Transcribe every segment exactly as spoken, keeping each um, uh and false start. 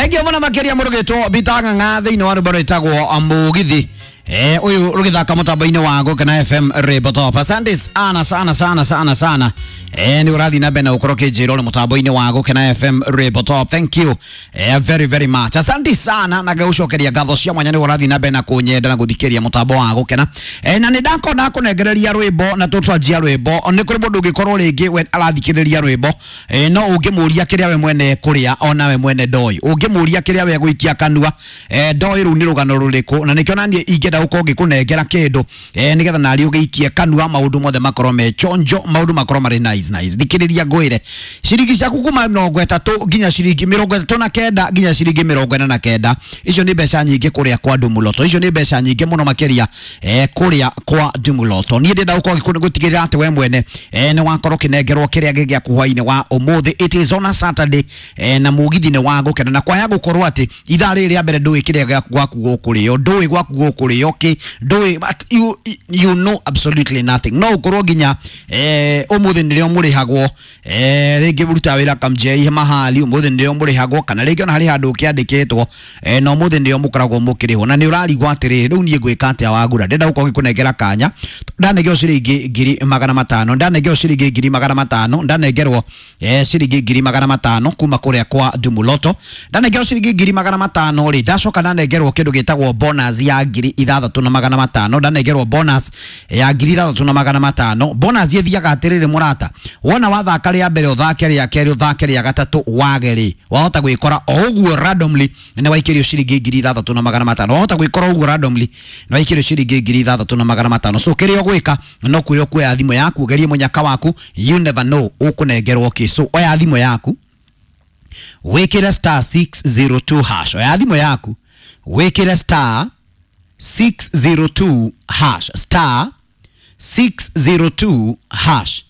Thengiũ mũno makĩria mũrũgĩtwo Bitang'ang'a thĩinĩ wa rwĩmbo rwĩtagwo Mũgithi. Eh, ũyũ rũgĩthaka mũtambo-inĩ wa Gũkena F M Rwĩmbo Top. Asante sana sana sana sana sana. Eh, nĩ ũrathiĩ na mbere na gũkorwo ũkĩnjĩra ũrĩ mũtambo-inĩ wa Gũkena F M Rwĩmbo Top. Thank you eh, very very much. Asante sana na ngagũcokeria ngatho cia mwanya nĩ ũrathiĩ na mbere na kũnyenda na gũthikĩria mũtambo wa Gũkena. Eh, na nĩ ndakorwo ndakũnengereria rwĩmbo na tũtwanjia rwĩmbo. Nĩ kũrĩ mũndũ ũngĩkorwo rĩngĩ we arathikĩrĩria rwĩmbo eh, no ũngĩmũria kĩrĩa we mwene kũrĩa ona we mwene ndoi. Ũngĩmũria kĩrĩa we gũikia kanua eh, ndoi rũu nĩ rũgano rũrĩkũ, na nĩkĩo naniĩ ingĩenda gũkorwo ngĩkũnengera kĩndũ eh, nĩgetha narĩ ũgĩikie kanua maũndũ mothe makorwo me chonjo, maũndũ makorwo marĩ nice nice. Thikĩrĩria ngwĩre, ciringi ciaku kuma mĩrongo ĩtatũ nginya ciringi mĩrongo ĩtatũ na kenda nginya ciringi mĩrongo ĩna na kenda, icio nĩ mbeca nyingĩ kũrĩa kwa Ndumuloto, icio nĩ mbeca nyingĩ mũno makĩria eh, kũrĩa kwa Ndumuloto. Niĩ ndĩrenda gũkorwo ngĩgũtigĩrĩra atĩ we mwene eh, nĩ wakorwo ũkĩnengerwo kĩrĩa gĩgĩaku hwainĩ wa ũmũthĩ. It is on a Saturday eh, na mũgithi nĩ wa gũkena, na kwaya gũkorwo atĩ ithaa rĩrĩ rĩa mbere ndũĩ kĩrĩa gwaku gũkũrĩo, ndũĩ gwaku gũkũrĩo kĩ, ndũĩ, but you, you know absolutely nothing. No ũkorwo nginya eh, ũmũthĩ nĩrĩo mũrĩhagwo eh, rĩngĩ ũrutaga wĩra kamjei mahali, ũmũthĩ nĩrĩo mũrĩhagwo, kana rĩngĩ ona harĩ handũ ũkĩandĩkĩtwo eh, na ũmũthĩ nĩrĩo mũkoragwo mũkĩrĩhwo, na nĩ ũrarigwo atĩrĩrĩ, rĩu niĩ ngwĩka atĩa wagura. Ndĩrenda gũkorwo ngĩkũnengera kanya, ndanengerwo ciringi ngiri magana matano, ndanengerwo ciringi ngiri magana matano, ndanengerwo eh, ciringi ngiri magana matano kuma kũrĩa kwa Ndumuloto, ndanengerwo ciringi ngiri magana matano rĩ, ndacoka ndanengerwo kĩndũ gĩtagwo bonus ya ngiri ithathatũ na magana matano, ndanengerwo bonus ya ngiri ithathatũ na magana matano. Bonus ĩthiaga atĩrĩrĩ mũrata, wona wathaka rĩa mbere ũthake rĩa kerĩ ũthake rĩa gatatũ wage rĩ, wahota gwĩkora o ũguo randomly nĩ waikĩrio ciringi ngiri ithathatũ na magana matano, wahota gwĩkora ũguo randomly nĩ waikĩrio ciringi ngiri ithathatũ na magana matano. So kĩrĩa ũgwĩka no kwĩrwo kuoya thimũ yaku ũgerie mũnyaka waku, you never know ũkũnengerwo kĩ. So oya thimũ yaku wĩkĩre star six zero two hash, oya thimũ yaku wĩkĩre star six zero two hash, star six zero two hash.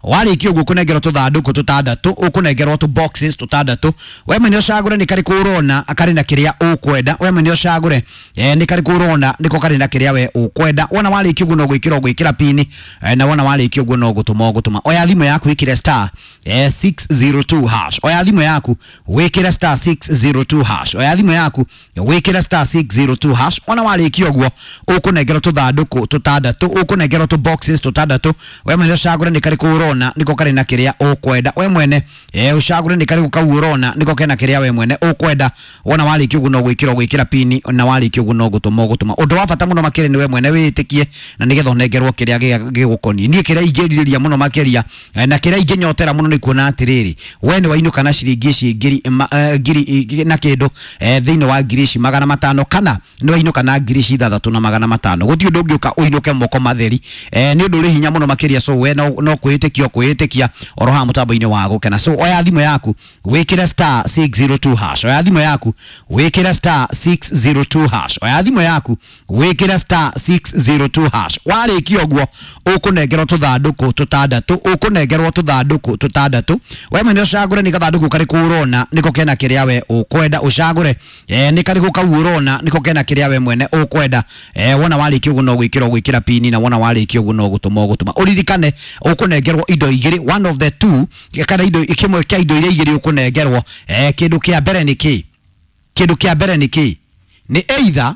Warĩkia ũguo ũkũnengerwo tũthandũkũ tũtandatũ, ũkũnengerwo tũ boxes tũtandatũ, we mwene ũcagũre nĩ karĩkũ ũrona karĩ na kĩrĩa ũkwenda, we mwene ũcagũre eh, nĩ karĩkũ ũrona nĩko karĩ na kĩrĩa we ũkwenda. Wona warĩkia ũguo no gwĩkĩra ũgwĩkĩra pini eh, na wona warĩkia ũguo no gũtũma ũgũtũma. Oya thimũ yaku wĩkĩre star eh, six zero two hash, oya thimũ yaku wĩkĩre star six zero two hash, oya thimũ yaku wĩkĩre star six zero two hash. Wona warĩkia ũguo ũkũnengerwo tũthandũkũ tũtandatũ, ũkũnengerwo tũ boxes tũtandatũ, we mwene ũcagũre nĩ karĩkũ ũrona niko karĩ na kĩrĩa ũkwenda, we mwene eh, ũcagũre nĩ karĩkũ kau ũrona niko kena kĩrĩa we mwene ũkwenda. Wona warĩkia ũguo no gwĩkĩra ũgwĩkĩra pini, na warĩkia ũguo no gũtũma ũgũtũma. Ũndũ wa bata mũno makĩria nĩ we mwene wĩtĩkie, na nĩgetha ũnengerwo kĩrĩa gĩgũkoniĩ. Niĩ kĩrĩa ingĩrirĩria mũno makĩria na kĩrĩa ingĩnyotera mũno nĩ kuona atĩrĩrĩ, we nĩ wainũka na ciringi ici ngiri ngiri na kĩndũ thĩinĩ wa ngiri ici magana matano, kana nĩ wainũka na ngiri ici ithathatũ na magana matano. Gũtirĩ ũndũ ũngĩũka ũinũke moko matheri, nĩ ũndũ ũrĩ hinya mũno makĩria. So we no kwĩtĩkia kwĩtĩkia oro haha mũtambo-inĩ wa Gũkena. So oya thimũ yaku wĩkĩre star six zero two hash, oya thimũ yaku wĩkĩre star six zero two hash, oya thimũ yaku wĩkĩre star six zero two hash. Warĩkia ũguo ũkũnengerwo tũthandũkũ tũtandatũ, ũkũnengerwo tũthandũkũ tũtandatũ, we mwene ũcagũre nĩ gathandũkũ karĩkũ ũrona nĩko kena kĩrĩa we ũkwenda, ũcagũre eh, nĩ karĩkũ kau ũrona nĩko kena kĩrĩa we mwene ũkwenda. Eh, wona warĩkia ũguo no gwĩkĩra ũgwĩkĩra pini, na wona warĩkia ũguo no gũtũma ũgũtũma. Ũririkane ũkũnengerwo indo igĩrĩ, one of the two, kana indo kĩmwe kĩa indo iria igĩrĩ ũkũnengerwo. Eh, kĩndũ kĩa mbere nĩ kĩ? Kĩndũ kĩa mbere nĩ kĩ? Nĩ either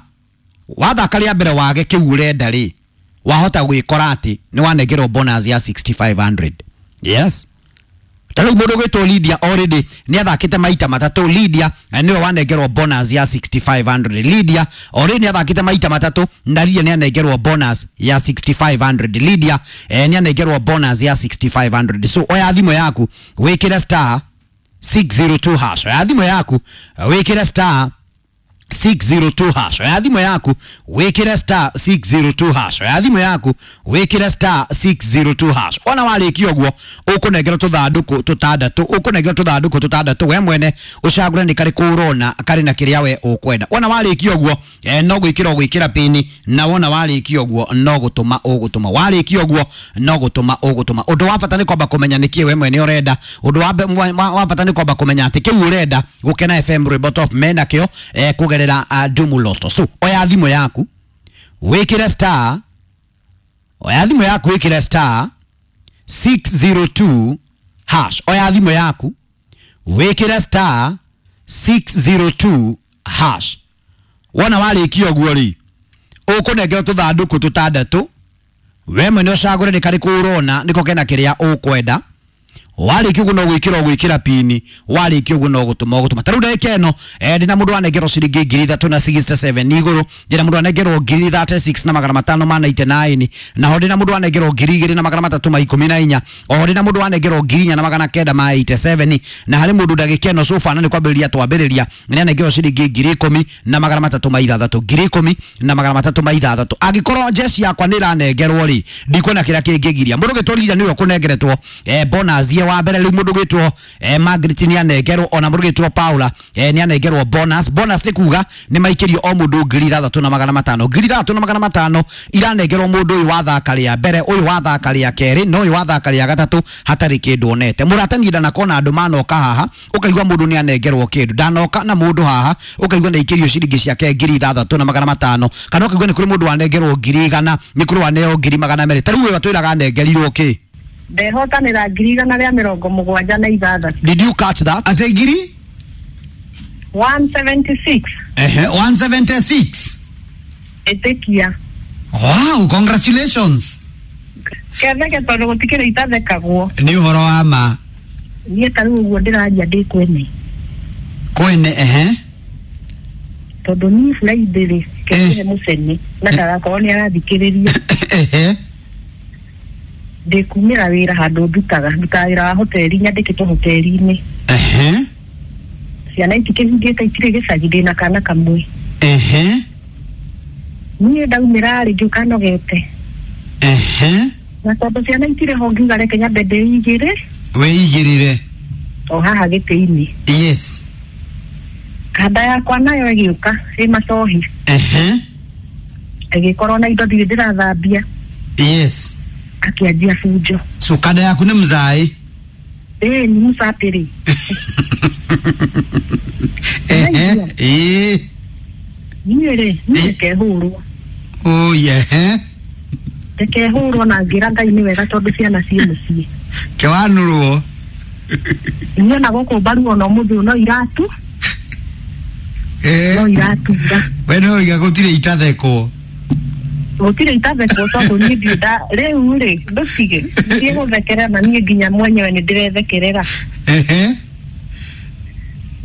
wathaka rĩa mbere wage kĩu ũrenda rĩ, wahota gwĩkora atĩ nĩ wanengerwo bonus ya sixty five hundred. Yes, ta rĩu mũndũ ũgwĩtwo Lydia already nĩ athakĩte maita matatũ. Lydia nĩwe wanengerwo bonus ya sixty five hundred. Lydia already nĩ athakĩte maita matatũ na Lydia nĩ anengerwo bonus ya sixty five hundred. Lydia eh, nĩ anengerwo bonus ya sixty five hundred. So oya thimũ yaku wĩkĩre star six zero two hash, oya thimũ yaku wĩkĩre star six zero two hash, oya thimũ yaku wĩkĩre star six zero two hash, oya thimũ yaku wĩkĩre star six zero two hash. Ona warĩkia ũguo ũkũnengerwo tũthandũkũ tũtandatũ, ũkũnengerwo tũthandũkũ tũtandatũ, we mwene ũcagũre nĩ karĩkũ ũrona karĩ na kĩrĩa we ũkwenda. Wona warĩkia ũguo eh, no gwĩkĩra ũgwĩkĩra pini, na wona warĩkia ũguo no gũtũma ũgũtũma. Warĩkia ũguo no gũtũma ũgũtũma. Ũndũ wa bata nĩ kwamba kũmenya nĩkĩ we mwene ũrenda. Ũndũ wa bata nĩ kwamba kũmenya atĩ kĩu ũrenda Gũkena F M Rwĩmbo Top mena kĩo eh, kũgerera uh, Ndumuloto. So oya thimũ yaku wĩkĩre star, oya thimũ yaku wĩkĩre star six zero two hash, oya thimũ yaku wĩkĩre star six zero two hash. Wona warĩkia ũguo rĩ, ũkũnengerwo tũthandũkũ tũtandatũ, we mwene ũcagũre nĩ karĩkũ ũrona nĩko kena kĩrĩa ũkwenda. Warĩkia ũguo no gwĩkĩra ũgwĩkĩra pini, warĩkia ũguo no gũtũma ũgũtũma. Ta rĩu ndagĩka ĩno eh, ndĩna mũndũ wanengerwo ciringi ngiri ithatũ na sixty seven igũrũ, ndĩna mũndũ wanengerwo ngiri thirty six na magana matano ma ninety nine, naho ndĩna mũndũ wanengerwo ngiri igĩrĩ na magana matatũ ma ikũmi na inya, oho ndĩna mũndũ wanengerwo ngiri inya na magana kenda ma eighty seven, na harĩ mũndũ ndagĩka ĩno sofa na nĩ kwambĩrĩria twambĩrĩria nĩ anengerwo ciringi ngiri ikũmi na magana matatũ ma ithathatũ, ngiri ikũmi na magana matatũ ma ithathatũ. Angĩkorwo njeci yakwa nĩ ĩranengerwo rĩ, ndikuona kĩrĩa kĩngĩgiria mũndũ gĩtũrira nĩwe ũkũnengeretwo eh, bonus ye wa mbere. Rĩu mũndũ gwĩtwo eh, Margaret nĩ anengerwo, ona mũndũ gwĩtwo Paula eh, nĩ anengerwo bonus. Bonus nĩ kuga nĩ maikĩrio o mũndũ ngiri ithathatũ na magana matano, ngiri ithathatũ na magana matano iranengerwo mũndũ ũyũ wathaka rĩa mbere, ũyũ wathaka rĩa kerĩ, na ũyũ wathaka rĩa gatatũ hatarĩ kĩndũ onete. Mũrata niĩ ndanakona andũ manoka haha ũkaigua mũndũ nĩ anengerwo kĩndũ, ndanoka na mũndũ haha ũkaigua nĩ aikĩrio ciringi ciake ngiri ithathatũ na magana matano, kana ũkaigua nĩ kũrĩ mũndũ wanengerwo ngiri igana, nĩ kũrĩ waneo ngiri magana merĩ. Ta rĩu ũyũ atwĩraga anengerirwo kĩ? Ndehotanĩra ngiri igana rĩa mĩrongo mũgwanja na ithathatũ. Did you catch that? Ate ngiri? one seventy six. Ehe, one seventy six. Ĩtĩkia. Wow, congratulations. Ketheke tondũ gũtikĩrĩ itathekagwo. Nĩ ũhoro wa ma. Niĩ ta rĩu ũguo ndĩraria ndĩ kwene. Kwene, ehe. Tondũ niĩ Friday rĩ, ketheke mũcene na ndagakorwo nĩ arathikĩrĩria. Ehe. Ndĩkumĩra wĩra handũ ndutaga, ndutaga wĩra wa hoteli, nyandĩkĩtwo hoteli-inĩ. Ehe. Ciana itikĩhingĩte itirĩ gĩcagi, ndĩna kana kamwe. Ehe. Niĩ ndaumĩra rĩ ngĩũka nogete. Ehe. Na tondũ ciana itirĩ ho ngiuga reke nyambe ndĩigĩre. Wĩigĩrĩre. O haha gĩtĩ-inĩ. Yes. Kanda yakwa nayo ĩgĩũka ĩ macohi. Ehe. Ĩgĩkorwo na indo ndirĩ ndĩrathambia. Yes. Akĩanjia bunjo. So kanda yaku nĩ mzaĩ? Ĩĩ nĩ mũcapĩrĩ. Ehe. Ĩĩ. Niĩ rĩ, niĩ ndikehũrwo. Oh yeah. Ndikehũrwo na ngĩra Ngai nĩ wega tondũ ciana ciĩ mũciĩ. Kĩwanũrwo. Niĩ ona gũkũ mbaru ona ũmũthĩ ũyũ no iratu. Eh. No iratura. We no iga gũtirĩ itathekwo. Gũtirĩ itathekwo tondũ niĩ ndirĩ nda rĩu rĩ ndũtige thiĩ gũthekerera na niĩ nginya mwenyewe nĩ ndĩrethekerera. Ehe.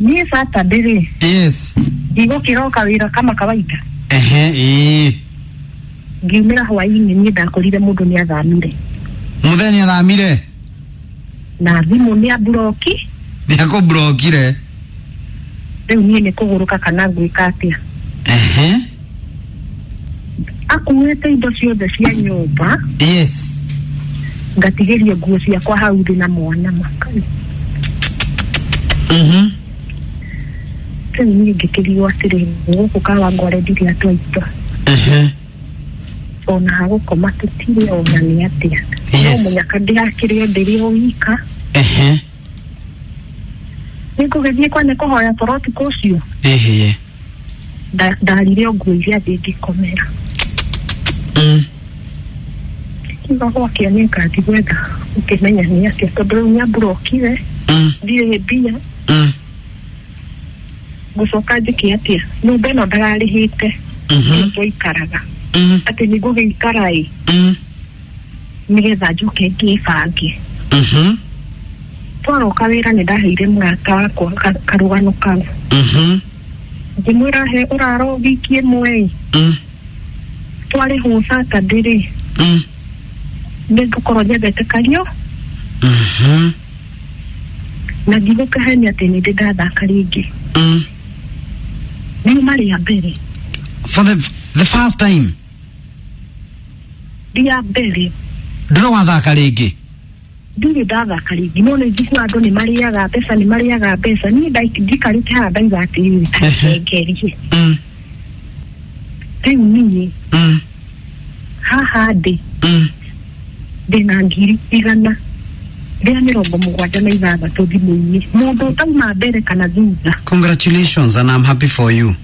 Niĩ Saturday rĩ. Yes. Ndigũkĩroka wĩra kama kawaida. Ehe, ĩĩ. Ngiumĩra hwaĩ-inĩ niĩ ndakorire mũndũ nĩ athamire. Mũthenya athamire? Na thimũ nĩ amburoki. Nĩ akũmburokire. Rĩu niĩ nĩ kũgũrũka kana ngwĩka atĩa? Ehe. Akuĩte indo ciothe cia nyũmba. Yes. Ngatigĩrio nguo ciakwa hau thĩ na mwana makai. Mhm. Rĩu niĩ ngĩkĩrigwo atĩrĩ, gũkũ Kawangware ndirĩ andũ aitũ. Ehe. Ona hagũkoma tũtirĩ ona nĩ atĩa. Yes. No mũnyaka ndĩrakĩrĩo ndĩrĩ o wika. Ehe. Nĩngũgĩthiĩ kwa nĩ kũhoya toro ũtukũ ũcio. Ehe. Ndarire o nguo iria thĩ ngĩkomera. Mm. Kiuga gwakĩa nĩ ngathiĩ gwetha ũkĩmenya nĩ atĩa tondũ rĩu nĩamburokire. Mm. Ndirĩ mbia. Mm. Ngũcoka njĩke atĩa? Nyũmba ĩno ndararĩhĩte. Mhm. Twaikaraga. Mm. Atĩ nĩngũgĩikara ĩ. Mm. Nĩgetha njoke ngĩbange. Mhm. Twaroka wĩra nĩ ndaheire mũrata wakwa karũgano kau. Mhm. Ngĩmwĩra he ũraro wiki ĩmwe ĩ. Mm. Twarĩhwo Saturday rĩ. Mm. Nĩngũkorwo nyendete kario. Mhm. Na ndigũkĩhenia atĩ nĩ ndĩ ndathaka rĩngĩ. Mm. Riuma rĩa mbere. For the, the first time. Rĩa mbere. Ndũrĩ wathaka rĩngĩ? Ndirĩ ndathaka rĩngĩ. No nĩ njiguaga andũ nĩ marĩaga mbeca, nĩ marĩaga mbeca. Niĩ njikarĩte haha ndauga atĩrĩrĩ, ta reke ngerie. Mm. Rĩu niĩ Mm. haha ndĩ Mm. ndĩna ngiri igana rĩa mĩrongo mũgwanja na ithathatũ thimũ-inĩ. Mũndũ ũtauma mbere kana thutha. Congratulations and I'm happy for you.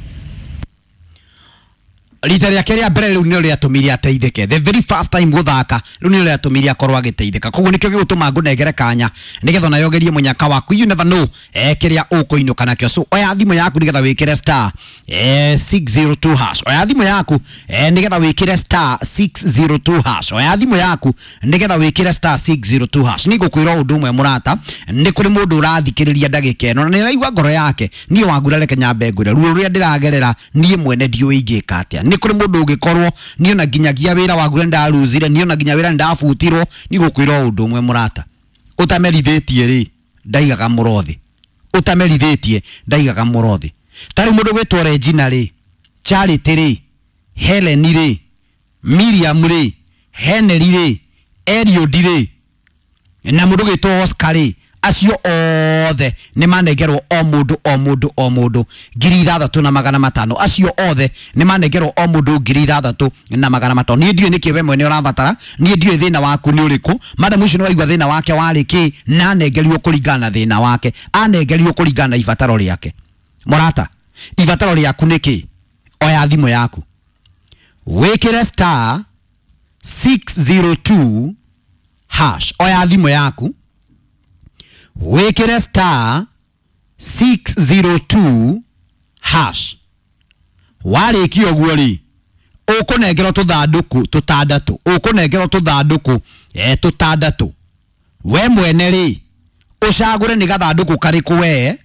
Rita rĩake rĩa mbere rĩu nĩrĩo rĩatũmire ateithĩke. The very first time gũthaka rĩu nĩrĩo rĩatũmire akorwo agĩteithĩka. Koguo nĩkĩo gĩgũtũma ngũnengere kanya nĩgetha onawe ũgerie mũnyaka waku. You never know eh, kĩrĩa ũkũinũka nakĩo. So oya thimũ yaku nĩgetha wĩkĩre star eh, six zero two hash. Oya thimũ yaku eh, nĩgetha wĩkĩre star six zero two hash. Oya thimũ yaku nĩgetha wĩkĩre star six zero two hash. Nĩngũkwĩra ũndũ ũmwe mũrata, nĩ kũrĩ mũndũ ũrathikĩrĩria ndagĩka ĩno na nĩaraigua ngoro yake, niĩ wangura reke nyambe ngwĩre ruo rũrĩa ndĩragerera niĩ mwene ndiũĩ ingĩka atĩa. Nĩ kũrĩ mũndũ ũngĩkorwo niĩ ona nginyagia wĩra wangura nĩndaruzire, niĩ ona nginya wĩra nĩndabutirwo. Nĩngũkwĩra ũndũ ũmwe mũrata, ũtamerithĩtie rĩ ndaigaga mũrothi, ũtamerithĩtie ndaigaga mũrothi. Ta rĩu mũndũ gwĩtwo Regina rĩ, Charity rĩ, Helen rĩ, Miriam rĩ, Henry rĩ, Eliud rĩ, na mũndũ gwĩtwo Oscar rĩ, acio othe nĩ manengerwo o mũndũ o mũndũ o mũndũ ngiri ithathatũ na magana matano. Acio othe nĩ manengerwo o mũndũ ngiri ithathatũ na magana matano. Niĩ ndiũĩ nĩkĩ we mwene ũrabatara, niĩ ndiũĩ thĩna waku nĩ ũrĩkũ. Madam ũcio nĩ waigua thĩna wake warĩ kĩ, na anengerirwo kũringana na thĩna wake, anengerirwo kũringana na ibataro rĩake. Mũrata, ibataro rĩaku nĩ kĩ? Oya thimũ yaku wĩkĩre star six zero two hash. Oya thimũ yaku wĩkĩre star six zero two hash. Warĩkia ũguo rĩ, ũkũnengerwo tũthandũkũ tũtandatũ, ũkũnengerwo tũthandũkũ eh, tũtandatũ. We mwene rĩ, ũcagũre nĩ gathandũkũ karĩkũ we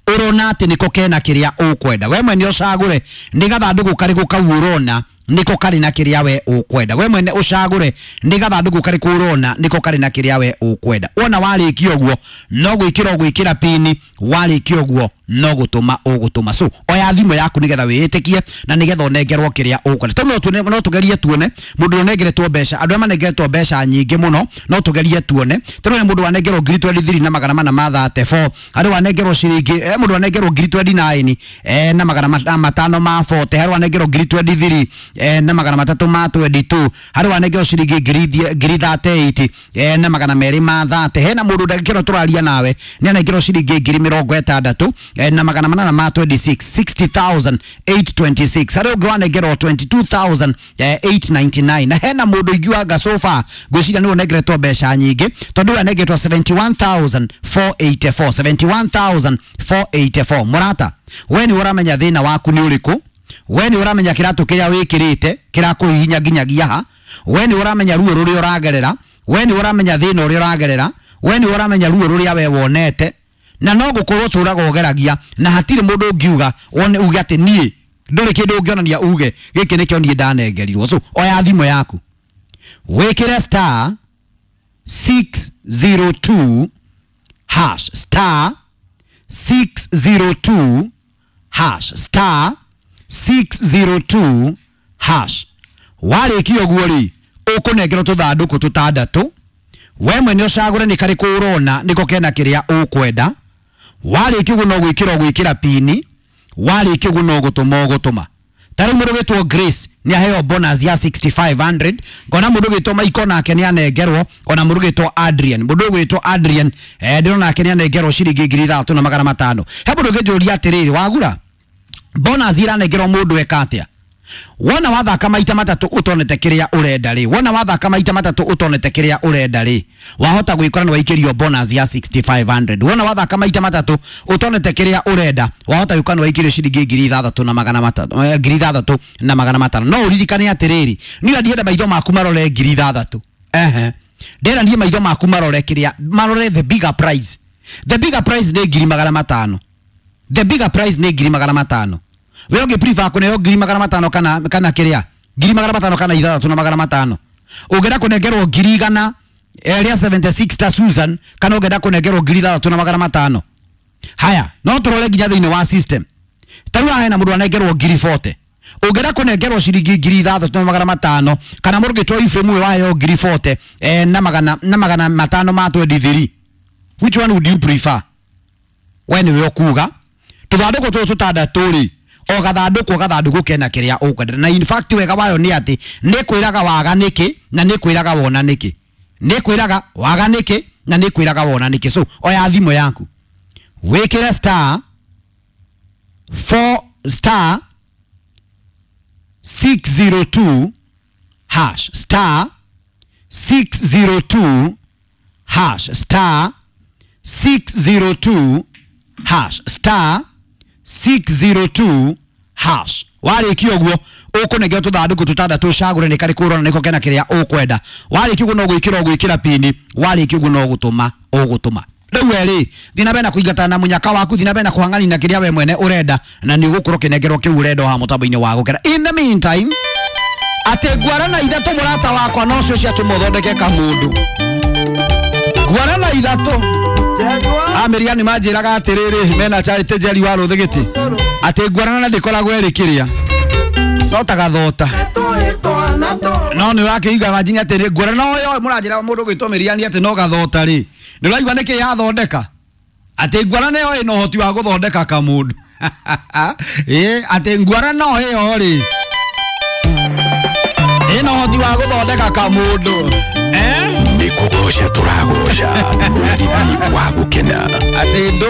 ũrona atĩ nĩko kena kĩrĩa ũkwenda. We mwene ũcagũre nĩ gathandũkũ karĩkũ kau ũrona nĩko karĩ na kĩrĩa we ũkwenda. We mwene ũcagũre nĩ gathandũkũ karĩkũ ũrona nĩko karĩ na kĩrĩa we ũkwenda. Wona warĩkia ũguo no gwĩkĩra ũgwĩkĩra pini, warĩkia ũguo no gũtũma ũgũtũma. So oya thimũ yaku nĩgetha wĩĩtĩkie na nĩgetha ũnengerwo kĩrĩa ũkwenda. Tondũ no tuone, no tũgerie tuone mũndũ ũnengeretwo mbeca, andũ arĩa manengeretwo mbeca nyingĩ mũno no tũgerie tuone. Tondũ nĩ mũndũ wanengerwo ngiri twenty three na magana mana ma thirty four, harĩ wanengerwo ciringi, eh, mũndũ wanengerwo ngiri twenty nine eh, na magana matano ma forty, harĩ wanengerwo ngiri twenty three eh, na magana matatũ ma twenty two, harĩ wanengerwo ciringi ngiri ngiri thirty eight eh, na magana merĩ ma thirty. Hena mũndũ ndagĩka ĩno tũraria nawe nĩ anengerwo ciringi ngiri mĩrongo ĩtandatũ eh, na magana manana ma twenty six, sixty thousand eight twenty six. Harĩ ũngĩ wanengerwo twenty two thousand eight ninety nine. Na hena mũndũ ingiuga so far ngwĩciria nĩwe ũnengeretwo mbeca nyingĩ tondũ ũyũ anengeretwo seventy one thousand four eighty four, seventy one thousand four eighty four. Mũrata, we nĩ ũramenya thĩna waku nĩ ũrĩkũ, we nĩ ũramenya kĩratũ kĩrĩa wĩkĩrĩte kĩrakũhihinya nginyagia ha, we nĩ ũramenya ruo rũrĩa ũragerera, we nĩ ũramenya thĩna ũrĩa ũragerera, we nĩ ũramenya ruo rũrĩa we wonete, na no gũkorwo tũraga ũgeragia na hatirĩ mũndũ ũngiuga wone uge atĩ niĩ ndũrĩ kĩndũ ũngĩonania uge gĩkĩ nĩkĩo niĩ ndanengerirwo. So oya thimũ yaku wĩkĩre star six zero two hash, star six zero two hash, star six zero two hash. Warĩkia ũguo rĩ, ũkũnengerwo tũthandũkũ tũtandatũ, we mwene ũcagũre nĩ karĩkũ ũrona nĩko kena kĩrĩa ũkwenda. Warĩkia ũguo no gwĩkĩra ũgwĩkĩra pini, warĩkia ũguo no gũtũma ũgũtũma. Ta rĩu mũndũ ũgwĩtwo Grace nĩ aheo bonus ya sixty five hundred, ngona mũndũ ũgwĩtwo Michael nake nĩ anengerwo, ona mũndũ ũgwĩtwo Adrian, mũndũ ũgwĩtwo Adrian eh, ndĩrona nake nĩ anengerwo ciringi ngiri ithathatũ na magana matano. He mũndũ ũngĩnjũria atĩrĩrĩ, wagura bonus iranengerwo mũndũ eka atĩa? Wona wathaka maita matatũ ũtonete kĩrĩa ũrenda rĩ, wona wathaka maita matatũ ũtonete kĩrĩa ũrenda rĩ, wahota gwĩkora nĩ waikĩrio bonus ya sixty five hundred. Wona wathaka maita matatũ ũtonete kĩrĩa ũrenda, wahota gwĩkora nĩ waikĩrio ciringi ngiri ithathatũ na magana matano, ngiri ithathatũ na magana matano. No ũririkane atĩrĩrĩ, niĩ ndienda maitho maku marore ngiri ithathatũ. Ehe, ndĩrenda niĩ maitho maku marore kĩrĩa, marore the bigger prize. The bigger prize nĩ ngiri magana matano. The bigger prize nĩ ngiri magana matano. We ũngĩ prefer kũneo ngiri magana matano kana kana kĩrĩa ngiri magana matano kana ithathatũ na magana matano. Ũngĩenda kũnengerwo ngiri igana rĩa seventy six ta Susan, kana ũngĩenda kũnengerwo ngiri ithathatũ na magana matano. Haya, no tũrore nginya thĩinĩ wa system. Ta rĩu haha hena mũndũ anengerwo ngiri forty. Ũngĩenda kũnengerwo ciringi ngiri ithathatũ na magana matano, kana mũndũ ũngĩtwo Ephraim ũyũ waheo ngiri forty eh, na magana na magana matano ma twenty three. Which one would you prefer? We nĩwe ũkuga. Tũthandũkũ tũtũ tũtandatũ rĩ, o gathandũkũ gathandũkũ kena kĩrĩa ũkwenda. Na in fact wega wayo nĩ atĩ nĩ kwĩraga waga nĩkĩ na nĩ kwĩraga wona nĩkĩ, nĩ kwĩraga waga nĩkĩ na nĩ kwĩraga wona nĩkĩ. So oya thimũ yaku wĩkĩre star four star six zero two hash, star six zero two hash, star six zero two hash, star six zero two hash. Warĩkia ũguo ũkũnengera tũthandũkũ tũtandatũ ũcagũre nĩ karĩkũ ũrona nĩko kena kĩrĩa ũkwenda. Warĩkia ũguo no gwĩkĩra ũgwĩkĩra pini, warĩkia ũguo no gũtũma ũgũtũma. Rĩu we rĩ, thiĩ na mbere na kũingatana na mũnyaka waku, thiĩ na mbere na kũhang'ania na kĩrĩa we mwene ũrenda, na nĩ ũgũkorwo ũkĩnengerwo kĩu ũrenda o haha mũtambo-inĩ wa Gũkena. In the meantime, atĩ ngwarana ithatũ mũrata wakwa nocio ciatũma ũthondeke kamũndũ. Ngwarana ithatũ. Ameria nĩ manjĩraga atĩrĩrĩ, mena Charity Njeri wa Rũthĩgĩtĩ, atĩ ngwarana ndĩkoragwo ĩrĩ kĩrĩa no ta gathota, no nĩ ũrakĩigua manjini atĩrĩ ngwarana ũyũ mũranjĩra mũndũ gwĩtwo Mĩriani atĩ no gathota rĩ, nĩ ũraigua nĩkĩ yathondeka atĩ ngwarana ĩyo ĩna ũhoti wa gũthondeka kamũndũ. Ĩ atĩ ngwarana ĩyo rĩ ĩna ũhoti wa gũthondeka kamũndũ. Eh? Nĩ kũgoca tũragoca mũgithi wa Gũkena. Atĩ ndũ